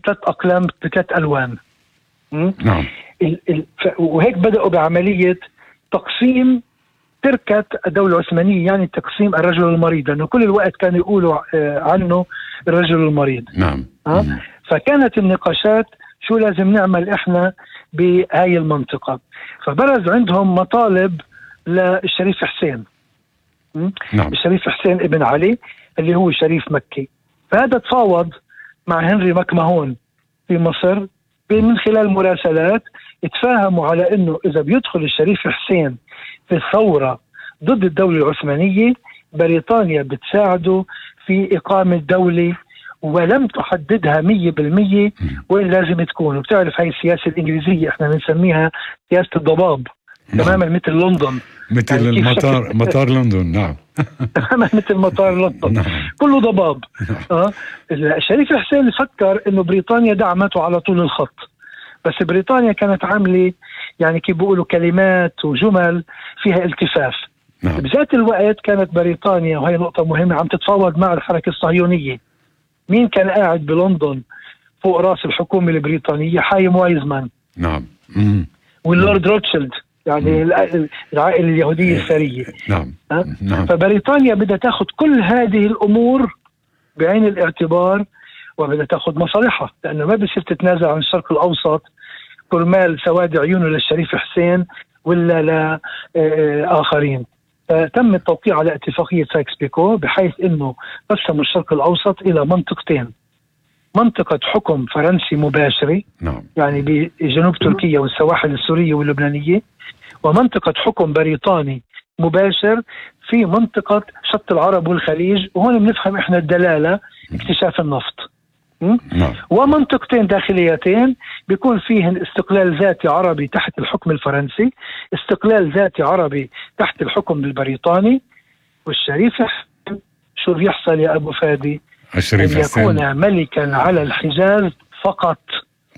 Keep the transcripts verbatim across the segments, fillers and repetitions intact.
ثلاث أقلام بثلاث ألوان. نعم. ال ال وهيك بدأوا بعملية تقسيم تركة الدولة العثمانية، يعني تقسيم الرجل المريض، لأنه كل الوقت كانوا يقولوا عنه الرجل المريض. نعم. أه؟ فكانت النقاشات شو لازم نعمل إحنا بهاي المنطقة. فبرز عندهم مطالب للشريف حسين. نعم. الشريف حسين ابن علي اللي هو شريف مكي. فهذا تفاوض مع هنري مكمهون في مصر من خلال مراسلات، اتفاهموا على انه اذا بيدخل الشريف حسين في الثورة ضد الدولة العثمانية بريطانيا بتساعده في إقامة دولة، ولم تحددها مية بالمية وين لازم تكون. وبتعرف هاي السياسة الإنجليزية احنا بنسميها سياسة الضباب. نعم. تماما مثل لندن، مثل يعني المطار مطار لندن. نعم. تماما مثل مطار لندن. نعم. كله ضباب. نعم. آه. الشريف حسين فكر انه بريطانيا دعمته على طول الخط، بس بريطانيا كانت عاملة يعني كيف بيقولوا كلمات وجمل فيها التفاف. نعم. بذات الوقت كانت بريطانيا، وهي نقطة مهمة، عم تتفاوض مع الحركة الصهيونية. مين كان قاعد بلندن فوق راس الحكومة البريطانية؟ حايم وايزمان. نعم. واللورد روتشيلد، يعني العائلة اليهودية الثرية. نعم. نعم. فبريطانيا بدها تاخذ كل هذه الأمور بعين الاعتبار وبدها تاخذ مصالحها، لأنه ما بصير تتنازل عن الشرق الأوسط كرمال سواد عيونه للشريف حسين ولا لآخرين. فتم التوقيع على اتفاقية سايكس بيكو بحيث أنه قسموا الشرق الأوسط إلى منطقتين: منطقة حكم فرنسي مباشري، نعم. يعني بجنوب تركيا والسواحل السورية واللبنانية، ومنطقة حكم بريطاني مباشر في منطقة شط العرب والخليج، وهون بنفهم إحنا الدلالة اكتشاف النفط. نعم. ومنطقتين داخليتين بيكون فيهن استقلال ذاتي عربي تحت الحكم الفرنسي، استقلال ذاتي عربي تحت الحكم البريطاني. والشريف شو بيحصل يا أبو فادي؟ الشريف أن حسين يكون ملكا على الحجاز فقط.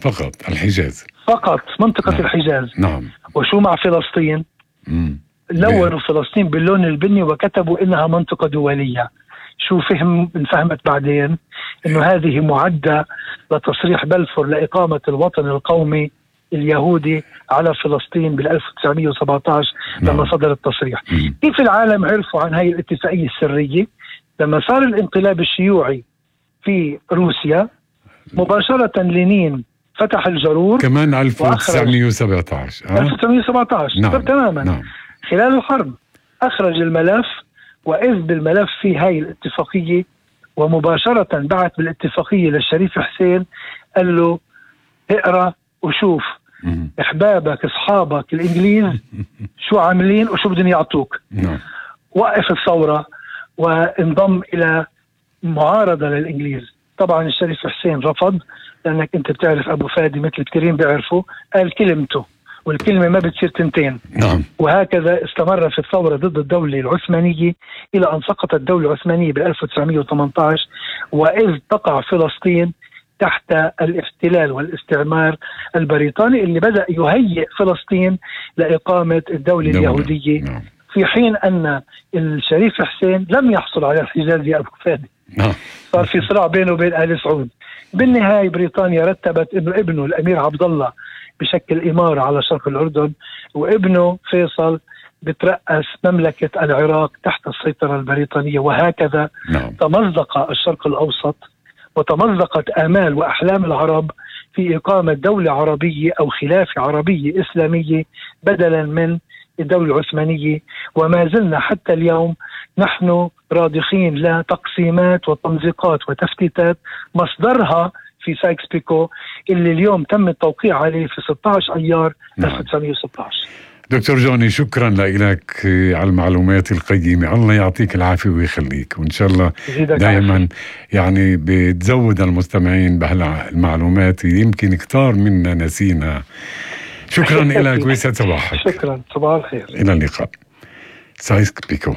فقط الحجاز فقط منطقة. نعم. الحجاز. نعم. وشو مع فلسطين؟ مم. لونوا فلسطين باللون البني وكتبوا إنها منطقة دولية. شو فهم انفهمت بعدين إنه هذه معدة لتصريح بلفور لإقامة الوطن القومي اليهودي على فلسطين بال ألف وتسعمية وسبعة عشر. نعم. لما صدر التصريح. مم. كيف العالم عرفوا عن هاي الاتفاقية السرية؟ لما صار الانقلاب الشيوعي في روسيا مباشرة لينين فتح الجرور كمان ألف وتسعمية وسبعة عشر. أه؟ ألف وتسعمية وسبعة عشر. نعم. تماما. نعم. خلال الحرب أخرج الملف، وإذ بالملف في هاي الاتفاقية، ومباشرة بعت بالاتفاقية للشريف حسين قال له اقرأ وشوف مم. إحبابك أصحابك الإنجليز شو عاملين وشو بدهم يعطوك. نعم. وقف الثورة وانضم إلى معارضة للإنجليز. طبعا الشريف حسين رفض، لأنك أنت بتعرف أبو فادي مثل كثيرين بيعرفوا، قال كلمته والكلمة ما بتصير تنتين. نعم. وهكذا استمر في الثورة ضد الدولة العثمانية إلى أن سقطت الدولة العثمانية ب ألف وتسعمية وثمانية عشر، وإذ تقع فلسطين تحت الاحتلال والاستعمار البريطاني اللي بدأ يهيئ فلسطين لإقامة الدولة دولة. اليهودية. نعم. في حين أن الشريف حسين لم يحصل على الحجاز يا أبو فادي. نعم. صار في صراع بينه وبين آل سعود. بالنهاية بريطانيا رتبت إنه ابنه الأمير عبد الله بشكل إمارة على شرق الأردن، وابنه فيصل بترأس مملكة العراق تحت السيطرة البريطانية. وهكذا نعم. تمزق الشرق الأوسط وتمزقت آمال وأحلام العرب في إقامة دولة عربية أو خلافة عربية إسلامية بدلا من الدولة العثمانية. وما زلنا حتى اليوم نحن راضخين لتقسيمات وتمزيقات وتفتيتات مصدرها في سايكس بيكو اللي اليوم تم التوقيع عليه في ستة عشر أيار ألف وتسعمية وستة عشر. دكتور جوني، شكرا لك على المعلومات القيمة. الله يعطيك العافية ويخليك، وإن شاء الله دائما يعني بتزود المستمعين بهالمعلومات، يمكن كتار منا نسينا. شكرا لك ويسعد صباحك. شكرا، صباح الخير. إلى اللقاء. سايكس بيكو.